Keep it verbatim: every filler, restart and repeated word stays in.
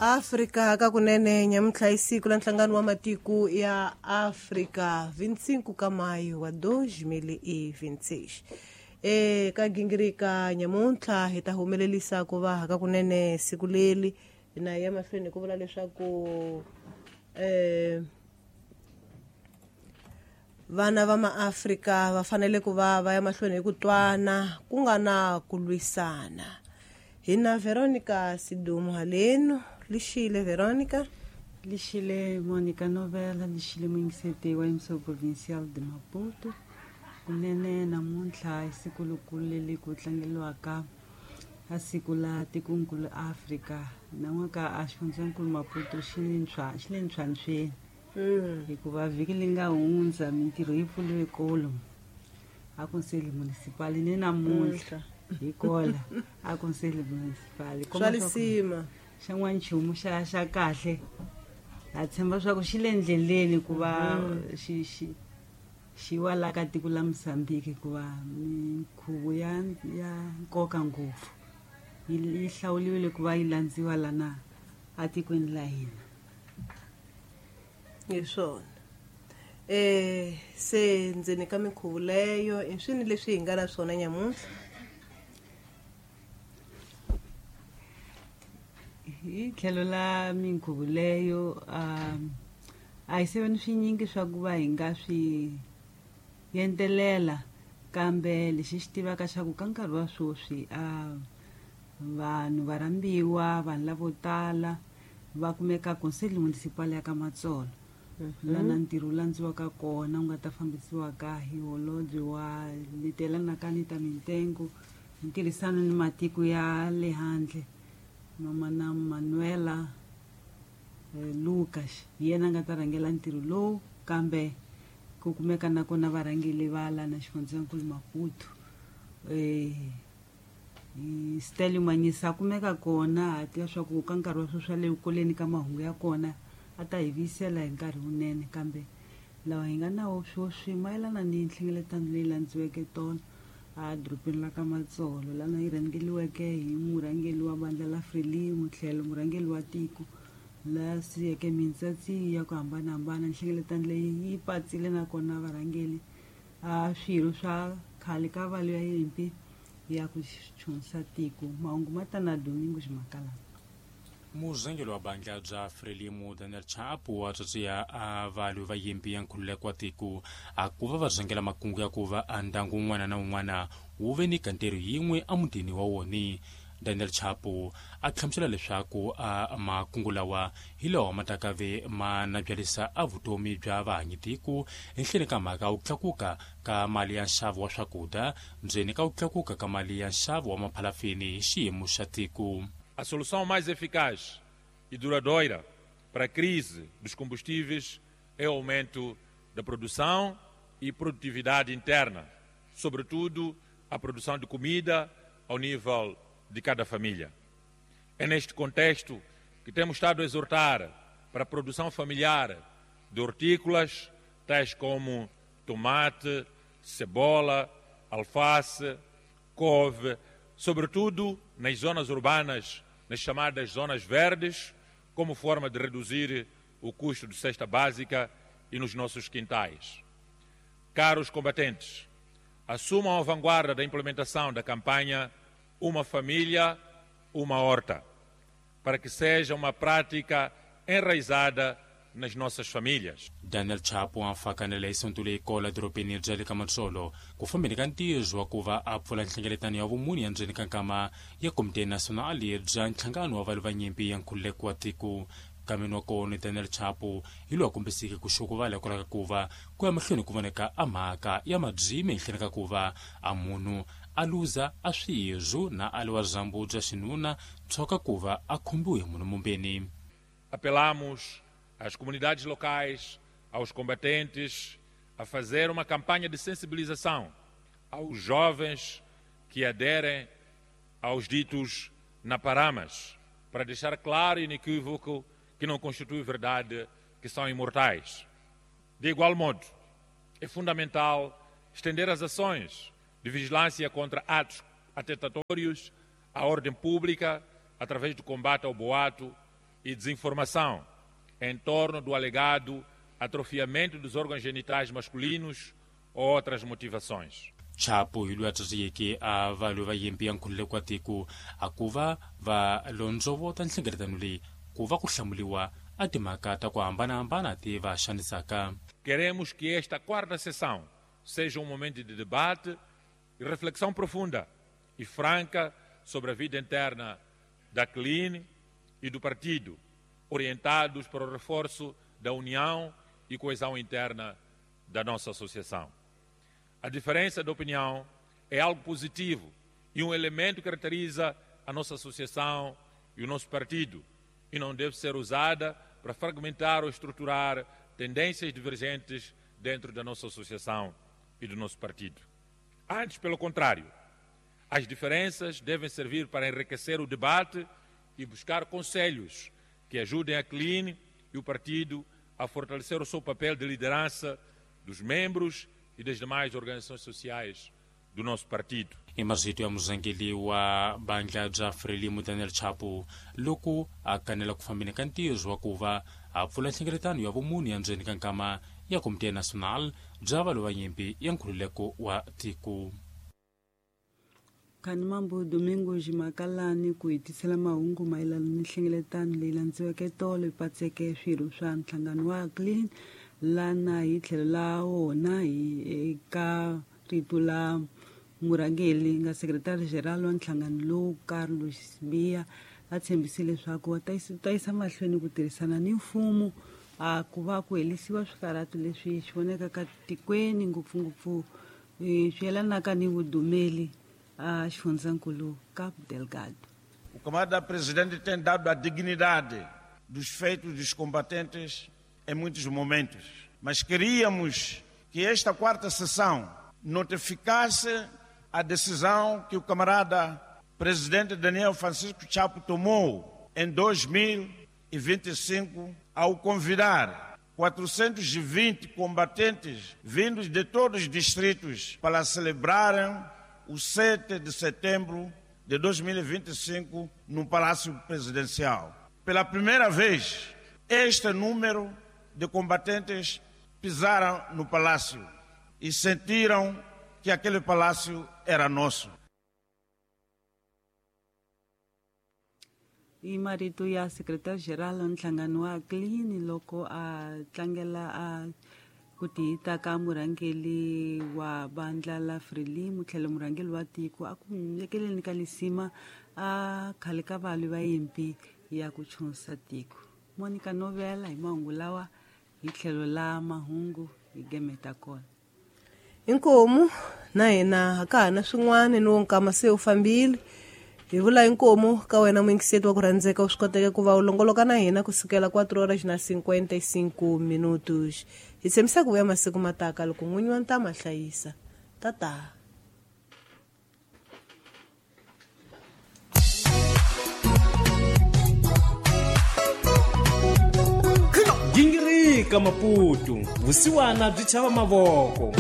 Afrika ka kunene nyamuntlha i siku la nhlangano wa matiko ya Afrika vinte e cinco ka maio wa dois mil e vinte e seis. E ka gingirika nyamuntlha hi ta humelelisa ku va ka kunene siku leri na ya mahlweni ku vula leswaku eh vana va maAfrika va fanele ku va va ya mahlweni hi ku twana ku nga na ku lwisana. Hi na Veronica Sidumo haleno. Lixile Veronica. Lixile Monica Novela, lixile muingiseti wa M C Provincial de Maputo. Kunene namuntlha i siku lokulu leri ku tlangeliwaka a siku la tikonkulu Afrika. Nan'waka a xifundzankulu Maputo xi le ntshwa xi le ntshwantshweni. Mm. Hikuva vhiki leri nga hundza mintirho yi pfuriwe kolo a Conselho Municipal ni namuntlha hi kola a Conselho Municipal. Swa lisima. Xa n'wanchumu xa xa kahle ha tshemba swa ku xi le ndleleni ku va xi xi xi wa la ka tiko la Mozambique, hikuva minkhuvo ya ya nkoka ngopfu yi yi hlawuliwile ku va yi landziwa lana atikweni la hina. Hi swona. Eh se ndzeni ka minkhuvo leyo i swini leswi hi nga na swona nyamuntlha? Hi tlhelo la minkhuvo leyo um a hi seveni swinyingi swa ku va hi nga swi yentelela, kambe lexi xi tivaka xa ku ka nkarhi wa sweswi a vanhu va rhambiwa, vanhu lavo tala va kumeka Conselho Municipal ya ka Matsolo, lana ntirho wu landziwaka kona wu nga ta fambisiwaka hi holobye wa letelanaka ni ta mitengo hi ntirhisano ni matiko ya le handle, mama na Manuela eh, Lucas hi yena a nga ta rhangela ntirho lowu, kambe ku kumeka nakona varhangeli va lana xifundzankulu Maputo. Eh Stelio Manyisa a kumeka kona, ha tiva swa ku ka nkarhi wa sweswi le kuleni ka mahungu ya kona a ta hi vuyisela hi nkarhi wunene, kambe lawa hi nga nawo sweswi mayelana ni nhlengeletano leyi landziweke tolo a dorobeni la ka Matsolo, lana yi rhangeliweke hi murhangeri wa vandla la Frelimo tlhelo murhangeri wa tiko la siyeke mintsatsi ya ku hambanahambana. Nhlengeletano leyi yi patsile nakona varhangeri a swirho swa khale ka valo ya yimpi ya ku chunisa tiko. Mahungu ma ta na Domingo Ximakalana. Murhangeri wa bandla bya Frelimo Daniel Chapo wa tsotsia a valwi va yimpi ya nkhululeko wa tiko a ku va va rhangela makungu ya ku va a ndyangu wun'wana na wun'wana wu ve ni kantero yin'we emutini wa wona. Daniel Chapo a hlamusela leswaku a makungu lawa hi lawa ma ta ve ma nabyalisa a vutomi bya vahanyi tiko henhleni ka mhaka ku tlakuka ka mali ya nxavo wa swakudya ndzeni ka ku tlakuka ka mali ya nxavo wa maphalafini hi xiyimo xa tiko. A solução mais eficaz e duradoura para a crise dos combustíveis é o aumento da produção e produtividade interna, sobretudo a produção de comida ao nível de cada família. É neste contexto que temos estado a exortar para a produção familiar de hortícolas, tais como tomate, cebola, alface, couve, sobretudo nas zonas urbanas, nas chamadas zonas verdes, como forma de reduzir o custo de cesta básica e nos nossos quintais. Caros combatentes, assumam a vanguarda da implementação da campanha Uma Família, Uma Horta, para que seja uma prática enraizada nas nossas famílias. Daniel Chapo a fakanele hi sonto leyi kola dorobeni bya le ka Matsolo ku fambeni ka ntirho wa ku va a pfula nhlengeletano ya vumune ya ndzeni ka nkama ya Komite Nacional bya nhlangano wa valwi va nyimpi ya nkhululeko wa tiko. Kameni wa kona Daniel Chapo hi lowu a kombiseke ku xokovala hikwalaho ka ku va ku ya mahlweni ku voneka a mhaka ya mabyimi henhleni ka ku va a munhu a luza a swirho na a liwa dyambu bya xinuna tshoka ku va a khumbiwe hi munhu mumbeni. Apelamos às comunidades locais, aos combatentes, a fazer uma campanha de sensibilização aos jovens que aderem aos ditos naparamas, para deixar claro e inequívoco que não constitui verdade que são imortais. De igual modo, é fundamental estender as ações de vigilância contra atos atentatórios à ordem pública através do combate ao boato e desinformação em torno do alegado atrofiamento dos órgãos genitais masculinos ou outras motivações. Chapo hi loyi a tswasiyeke a valwi va yimpi ya nkhululeko wa tiko a ku va va londzovota nhlengeletano leyi ku va ku hlamuliwa a timhaka ta ku hambanahambana ti va xanisaka. Queremos que esta quarta sessão seja um momento de debate e reflexão profunda e franca sobre a vida interna da C L I N e do partido, orientados para o reforço da união e coesão interna da nossa associação. A diferença de opinião é algo positivo e um elemento que caracteriza a nossa associação e o nosso partido e não deve ser usada para fragmentar ou estruturar tendências divergentes dentro da nossa associação e do nosso partido. Antes, pelo contrário, as diferenças devem servir para enriquecer o debate e buscar conselhos que ajudem a C L I N e o partido a fortalecer o seu papel de liderança dos membros e das demais organizações sociais do nosso partido. I marito ya muzangeli wa bandla bya Frelimo Daniel Chapo loko a kanela ku fambeni ka ntirho wa ku va a pfula nhlengeletano ya vumunhu ya ndzeni ka nkama ya Komite Nacional bya valwi va nyimpi ya nkhululeko wa tiko. Khanimambu Domingos Makalani ku hetisela mahungu mayelana ni nhlengeletano leyi landziweke tolo yi patseke swirho swa nhlangano wa C L I N lana hi tlhelo la wona hi eka rito la murhangeri nga secretary general wa nhlangano lowu Carlos Sibiya a tshembise leswaku va ta yisa mahlweni ku tirhisana ni mfumo a ku va ku helisiwa swikarhato leswi swi vonekaka tikweni ngopfungopfu swi yelanaka ni vudumeli a xifundzankulu Cabo Delgado. O camarada presidente tem dado a dignidade dos feitos dos combatentes em muitos momentos, mas queríamos que esta quarta sessão notificasse a decisão que o camarada presidente Daniel Francisco Chapo tomou em dois mil e vinte e cinco ao convidar quatrocentos e vinte combatentes vindos de todos os distritos para celebrarem o sete de setembro de dois mil e vinte e cinco no Palácio Presidencial. Pela primeira vez, este número de combatentes pisaram no palácio e sentiram que aquele palácio era nosso. I marito ya secretary-general wa nhlangano wa C L I N loko a tlangela a ku tiyita ka murhangeri wa bandla la Frelimo tlhelo murhangeri wa tiko a ku nyekeleni ka lisima a khale ka valwi va yimpi ya ku chunsa tiko. Monica Novela hi mahungu lawa hi tlhelo la mahungu hi gemeta kona. Inkomu na hina ka ha na swin'wana ni wo nkama se u fambile. Hi vula inkomu ka wena muyingiseti wa ku rhandzeka u swi koteke ku va u longoloka na hina kusukela quatro horas na cinquenta e cinco minutos. Hi tshembisa ku vuya masiku mataka loko n'winyi wa ntama hlayisa. Tata. Gingirika Maputo, vusiwana byi chava mavoko.